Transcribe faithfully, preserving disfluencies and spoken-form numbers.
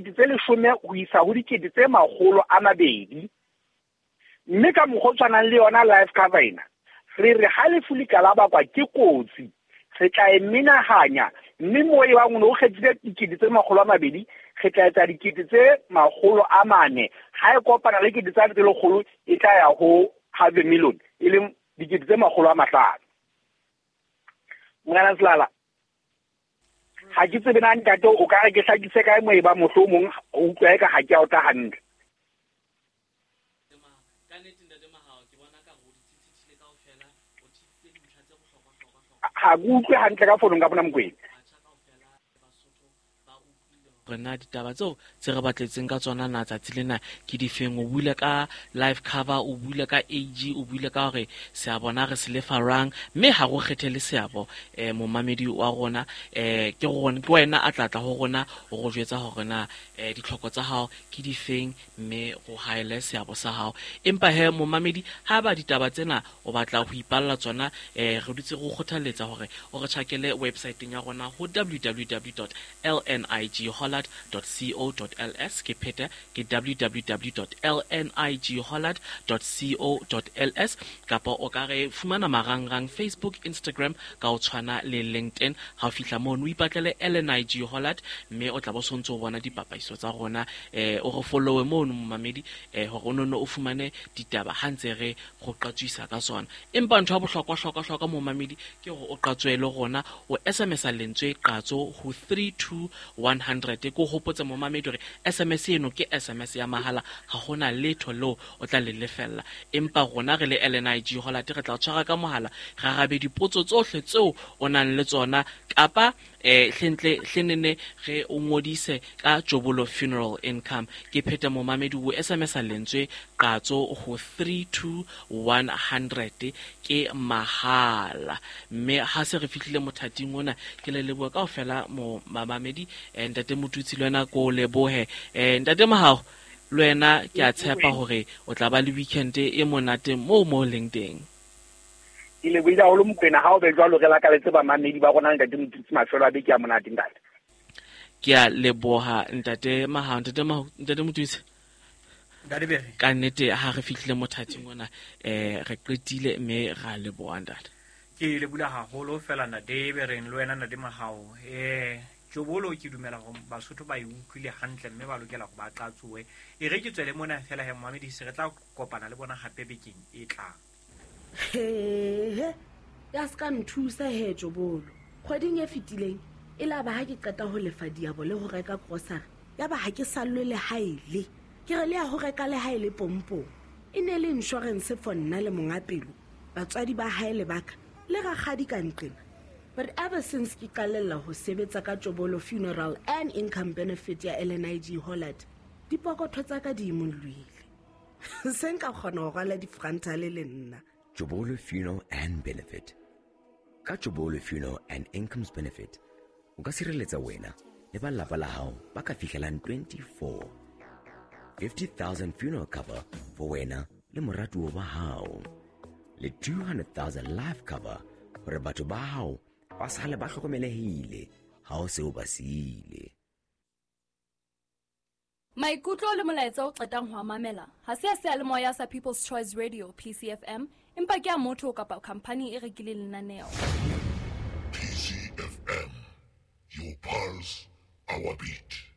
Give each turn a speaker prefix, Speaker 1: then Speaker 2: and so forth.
Speaker 1: dikete tse leshome ho isa ho dikete tse makgolo a mabedi. Mme ka mokgwa o tshwanang le yona life cover ena, re re ha lefu le ka la bakwa ke kotsi, re tla e menahanya, mme moo e bang o no kgethile dikete tse makgolo a mabedi, re tla etsa dikete tse makgolo a mane. Ha e kopana le dikete tsa tse lekgolo, e tla ya ho half a million, e leng dikete tse makgolo a mahlano. Morena Selala, ha ke tsebe na ntate o ka re ke hlakise kae moo e ba mohlomong o utlwa eka ha ke a utlwa hantle. Ha ke utlwe hantle ka founong ka bona Mokwena.
Speaker 2: Rena ditaba tseo tse re batletseng ka tsona na tsatsi lena ke difeng? O buile ka life cover, o buile ka A G, o buile ka hore seabo na re se lefa rang, mme ha go kgethele seabo eh momamedi wa rona, eh ke rona ke wena a tla tla ho rona o go jwetsa hore na eh ditlhoko tsa hao ke difeng, mme go haele seabo sa hao. Empa he momamedi, ha ba ditaba tsena o batla ho ipalla tsona, eh re dutse go kgothaletsa hore o re tjhakele website-eng ya rona ho w w w dot l n i g hollard dot co dot l s. Ke pheta ke w w w dot l n i g hollard dot co dot l s, kapa o ka re fumana marangrang Facebook, Instagram ka o tshwana le LinkedIn. Ha o fihla mono o ipatlele L N I G Hollard, mme o tla bo sontse o bona dipapaiso tsa rona. Eh o re followe mono momamedi, eh hore o nonne o fumane ditaba ha ntse re go qatswisa ka tsona. Empa ntho ya bohlokwa hlokwa hlokwa momamedi ke hore o qatswe le rona, o S M S a lentswe qatso ho three two one hundred. Ke hopotse momamedi hore S M S eno ke S M S ya mahala, ha hona letho leo o tla le lefella. Empa rona re le L N I G Hollard re tla tshwara ka mohala, ra arabe dipotso tsohle tseo o nang le tsona, kapa eh hlentle hlenene re o ngodise ka Jobolo Funeral Income. Ke pheta momamedi o S M S a lentswe qatso ho three two one hundred, ke mahala. Mme ha se re fihlile mothating ona, ke le leboha kaofela mo mamamedi. Eh, ntate Motutsi le wena ko lebohe. Eh, ntate Mahao, le wena ke a tshepa hore o tla ba le weekend e monate moo mo leng teng.
Speaker 1: Ke lebohile haholo Mokwena, ha o be jwalo re lakaletse bamamedi ba rona ntate Motutsi mafelo a beke a monate ntate.
Speaker 2: Ke a leboha ntate Mahao. Ntate Mahao, ntate Motutsi, ka nnete ha re fihlile mothating ona, eh re qetile mme ra leboha ntate.
Speaker 3: Ke leboha haholo fela ntate Bereng le wena ntate Mahao. Eh Jobolo ke dumela hore Basotho ba e utlwile hantle mme ba lokela go ba qatsoe. E re ke tswele mona fela he momamedi, se re tla kopana le bona hape bekeng e tlang.
Speaker 4: He, ya ska nthusa he Jobolo. Kgweding e fetileng e la ba ha ke qeta ho lefa diabo le ho reka grocery, ya ba ha ke sallwe le haele. Ke re le ya ho reka le haele pompong. E ne le insurance for nna le monga pelo, batswadi ba hae le baka le rakgadi ka nqena. But ever since ke qalella ho sebetsa ka Jobolo Funeral and Income Benefit ya L N I G Hollard, dipokotho tsa ka di imollohile. Se nka kgona ho rwala difrantale le nna.
Speaker 5: Jobolo Funeral and Benefit. Ka Jobolo Funeral and Incomes Benefit, o ka sireletsa wena le ba lapa la hao ba ka fihlelang twenty-four. fifty thousand funeral cover for wena le moratuwa wa hao. Le two hundred thousand life cover hore batho ba hao ba sale ba hlokomelehile ha o se o ba siile.
Speaker 6: Maikutlo le molaetsa o qetang ho mamela ha se a seyalemoya sa People's Choice Radio P C F M, empa ke a motho kapa company e rekileng lenaneo.
Speaker 7: P C F M, your pulse, our beat.